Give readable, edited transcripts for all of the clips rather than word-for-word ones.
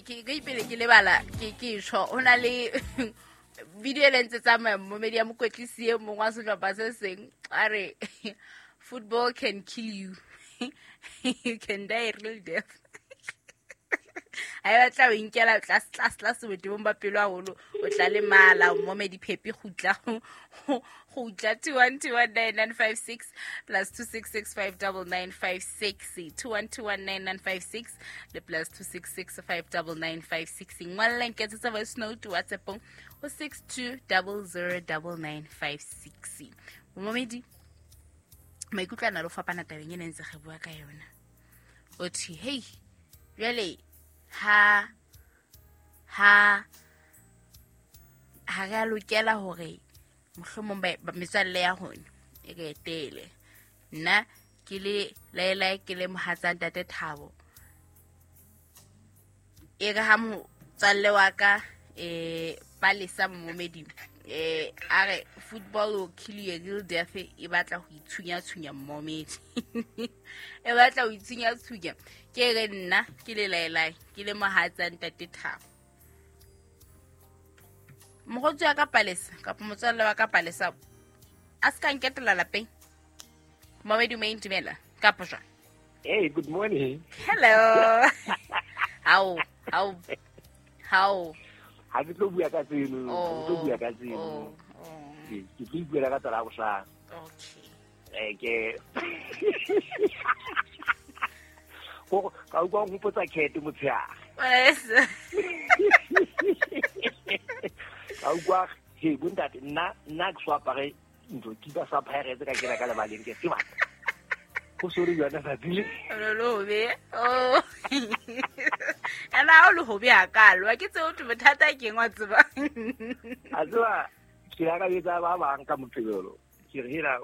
Ke pele ke lebala ke tjho ho na le video e le ntse tsamaya momedi ya mokwetlisi e mong wa sehlopha se seng a re football can kill you, you can die a real death. Ha e batla o inkela tlase tlase tlase botebong ba pelo haholo, o tla lemala. Momedi Phepi kgutla kgutla. 21219956 plus 266 59956, 21219956 le plus 266 59956. Ngwalla, nketsetsa voice note WhatsAppong ho 62009956. Momedi, maikutlo a na le ho fapana tabeng e ne ntse re bua ka yona. O thi hei, jwale ha re a lokela hore mohlomong metswalle ya rona e re etele. Nna ke le laelae, ke le mohatsa ntate Thabo, e re ha motswalle wa ka Palesa momedi a re football will kill you a real death, e batla ho itshunya-tshunya. Mmomedi e batla ho itshunya-tshunya. Ke re nna ke le laelae, ke le mohatsa ntate Thabo, mogotsi wa ka Palesa kapa motswalle wa ka Palesa a se ka nketela lapeng. Momedi, o intumela kapa jwang? Hey, good morning. Hello. How? How? How? Ha ke tlo bua ka tseno, ha ke tlo bua ka tseno. Oh. Ke tlo ipuela ka tsala bohlano. Okay. Ke go ka utlwa o nkgopotsa kete motshehare. Yes. Ka utlwa he bontate, nna ke so apare ntho kipa sa Pirates ka kena ka lebaleng, ke tseba go sore yona tsatsi le. Lo hobe. Oh. Ena ha o le hobe hakalo. Wa ke tseo thwe bothata ke eng wa tseba. A tseba ke ya ka etsa ba bang ka Moqebelo, ke re hela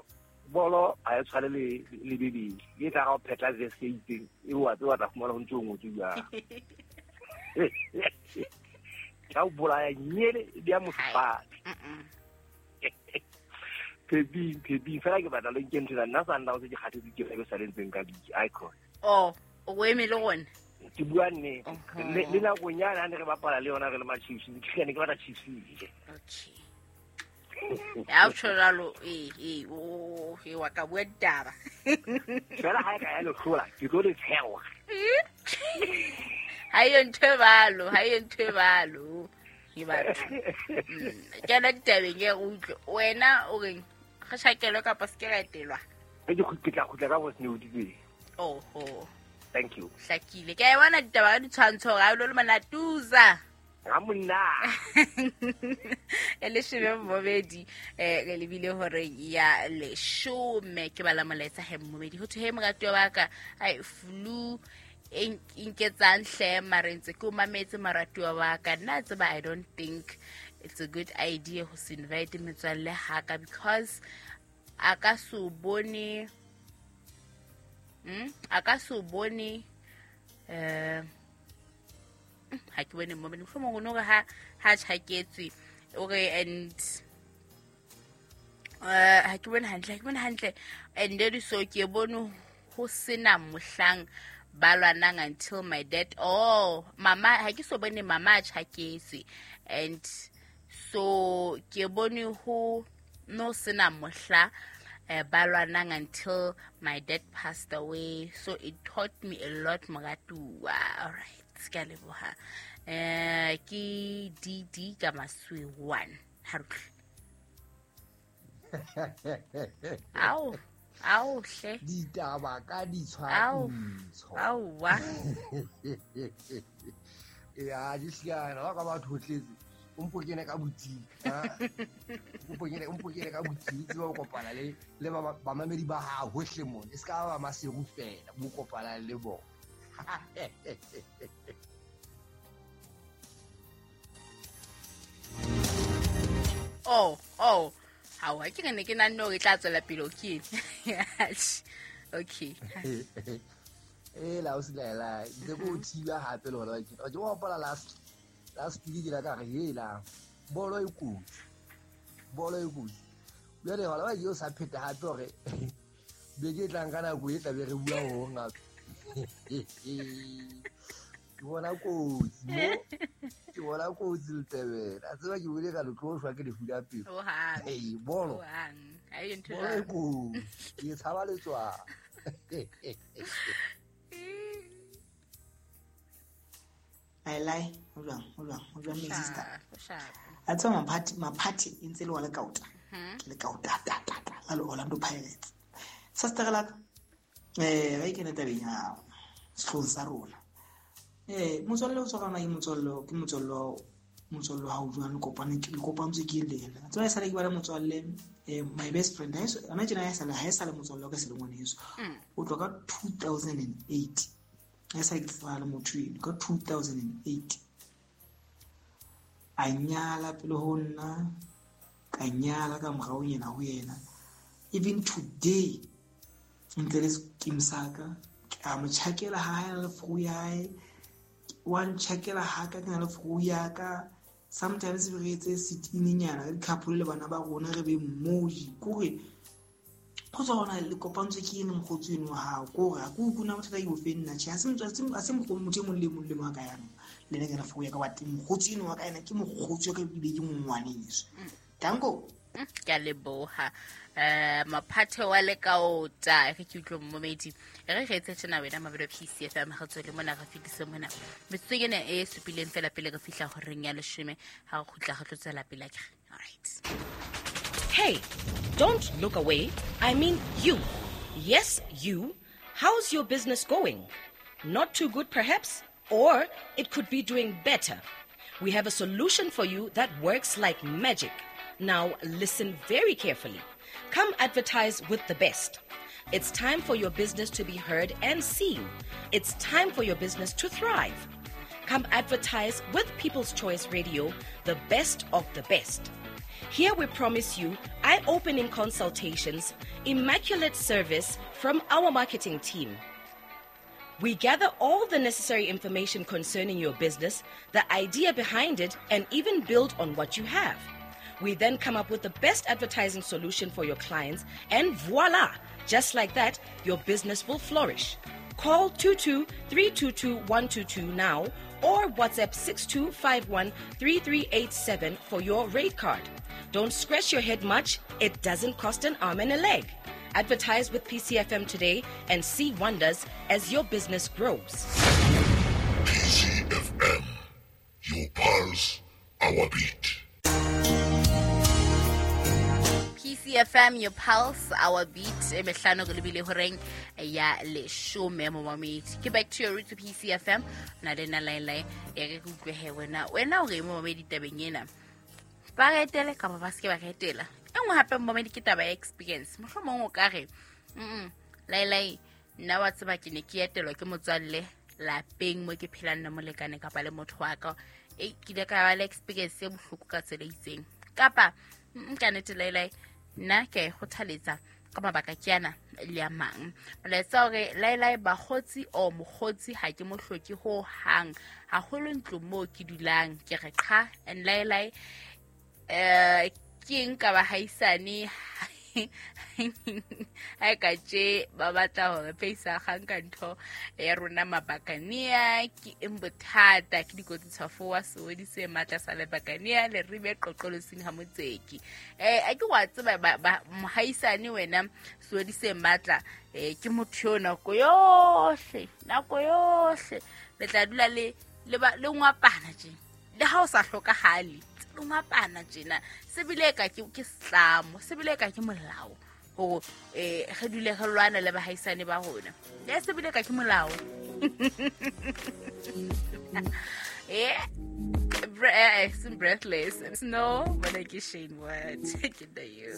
bolo ha e tshwane le Bibele e tla ga o phetla verse e itseng e wa tseba tla fumana ho ntse o ngotswe jwang ka o bolaya nyele di ya mosepati. Pheping pheping fela ke batla le nke ntho nna Sundowns ke kgathetse ke be sa le ntseng ka league icon. Oh, o eme le gona. Ke bua nnete. Le nakong yane ha ne re bapala le yona re le ma-Chiefs, ke ne ke batla Chiefs e. Okay. Ya o tjho jwalo, eh o e wa ka bua ditaba. Fela ha e ka ya lehlola ke tlo le tshewa. Ha yo ntho e balo, ha yo ntho e balo. Ke batho. Kena ditabeng e re utlwe. Wena o reng? Re shakelwe kapa se ke ra etelwa? Ke tla kgutla ka voice note tse. Oho. Thank you. Hlakile. Ke a e bona ditaba ka ditshwantsho hore ha o lo le monatuza. Ga monna. E leshome mmobedi, re lebile hore ya 10. Ke bala molaetsa he mmobedi, ho thwe he moratuwa wa ka, ai flu e nketsang hle, mare ntse ke o mametse moratuwa wa ka. Nna tseba, I don't think it's a good idea ho se invite metswalle haka because a ka se o bone, a ka se o bone. Ha ke bone mo mohlomong o no re ha tjhaketswe o re and ha ke bone hantle, ha ke bone hantle. And then so ke bone ho sena mohlang ba lwanang until my dad, oh mama, ha ke so bone mama a tjhaketswe and so ke bone ho no sena mohla ba lwanang until my dad passed away, so it taught me a lot, moratuwa. All right, ke a leboha. Ke DD ka Maswe 1 harutle. Ao ao hle. Ditaba ka ditshwantsho. Aowa. Ya di siana ba ka batho tletse, o mpo kene ka boutique, o mpo kene ka boutique, tseba o kopana le bamamedi ba hao hohle mona, e se ka ba Maseru fela bo kopana le bona. Oh, hawa ke ne ke nanne hore e tla tswela pele o ke eng. Okay. E la o silaela ntse ko thiba hape le hona ke o hopola last week ke la ka re hela bolo e kotsi, bolo e kotsi. Jwale hona ba ke o sa pheta hape hore beke e tlang ka nako e tla be re bua ho hong hape. Ke bona kotsi mo, ke bona kotsi letebele. A tseba ke bone ka le tlo shwa ke lefu la pelo. Hohang. Ee, bolo. Hohang. Ha e ntho Bolo e jwalo. kotsi. Ke tshaba letswalo. Laelai, ho jwang, ho jwang, ho jwang, my sister? Sharp, sharp. A tseba maphathi, maphathi e ntse le wa lekaota. Ke lekaota ta ta ta la le Orlando Pirates. Sister la ka. Ga e kene tabeng ya sehloohong sa rona. Motswalle o tshwarana ke motswalle, ke motswalle, motswalle wa hao jwang, le kopane, le kopantswe ke le yena. Tseba e sale ke ba le motswalle, my best friend, ha eso, hona tjena ha e sale motswalle wa ka se le ngwaneso. O tloha ka 2008. Ha e sale ke tsebana le motho eno, ka 2008. A nyala pele ho nna, ka nyala ka morao yena ho yena. Even today, ntle le scheme sa ka, ke a mo tjhakela ha hae le furu ya hae, wa ntjhakela ha ka ke na le furu ya ka. Sometimes re etse sitininyana ka di-couple le bana ba rona re be mmoji. Ke hore ho tswa hona le kopantswe ke ene mokgotsi eno wa hao. Ke hore ha ke utlwe na bothata ke bofe nna. Tjhe, ha se motswa-, ha se mokgotsi, motho e mong le mong le mong a ka yang le nna ke na furu ya ka wa teng. Mokgotsi eno wa ka ena ke mokgotsi wa ka ebile ke ngwaneso. Danko. Ke a leboha. Maphathe wa lekaota, re ke utlwe momedi. Re re etse tjena wena mabelo PCFM, re tswele mona, re fetise mona. Metsotso ena e supileng fela pele re fihla horeng ya leshome, ha re kgutla re tlo tswela pele akere. All right. Hey, don't look away. I mean you. Yes, you. How's your business going? Not too good perhaps, or it could be doing better. We have a solution for you that works like magic. Now listen very carefully. Come advertise with the best. It's time for your business to be heard and seen. It's time for your business to thrive. Come advertise with People's Choice Radio, the best of the best. Here we promise you eye-opening consultations, immaculate service from our marketing team. We gather all the necessary information concerning your business, the idea behind it, and even build on what you have. We then come up with the best advertising solution for your clients, and voila! Just like that, your business will flourish. Call 22-322-122 now or WhatsApp 6251-3387 for your rate card. Don't scratch your head much. It doesn't cost an arm and a leg. Advertise with PCFM today and see wonders as your business grows. PCFM, your pulse, our beat. PCFM, your pulse, our beat. E mehlano re lebile horeng ya leshome momamedi. Ke back to your roots PCFM. Na le nna Laelai, e re ke utlwe he wena. Wena o re momamedi tabeng ena. Ba re etele kapa ba se ke ba re etela. E nngwe hape momamedi ke taba ya experience. Mohlomong o ka re, Laelai, nna wa tseba ke ne ke etelwa ke motswalle lapeng mo ke phelang le molekane kapa le motho wa ka. E ke ile ka ba le experience e bohloko ka tsela e itseng. Kapa ka nnete Laelai, nna ke a e kgothaletsa ka mabaka ke ana le a mang. Molaetsa hore Laelai bakgotsi o mokgotsi ha ke mo hloke ho hang, haholo ntlo moo ke dulang ke re qha. And Laelai, ke eng ka bahaisane ha e ka tje ba batla hore pheisa kgang ka ntho ya rona mabakania, ke eng bothata, ke dikotsi tshwafo wa sewedi se matla sa lebakania le ribe qoqolosing ha motseki. A ke wa tseba ba mohaisane wena sewedi se matla, ke motho yo nako yohle, nako yohle le tla dula le le ngwapana tje, le ha o sa hlokahale ngwapana tjena, se bile ka ke setlamo, se bile ka ke molao hore re dule re lwana le bahaisane ba rona. Ya se bile ka ke molao. Breathless. No, but I ke Shane Ward. Ke the you.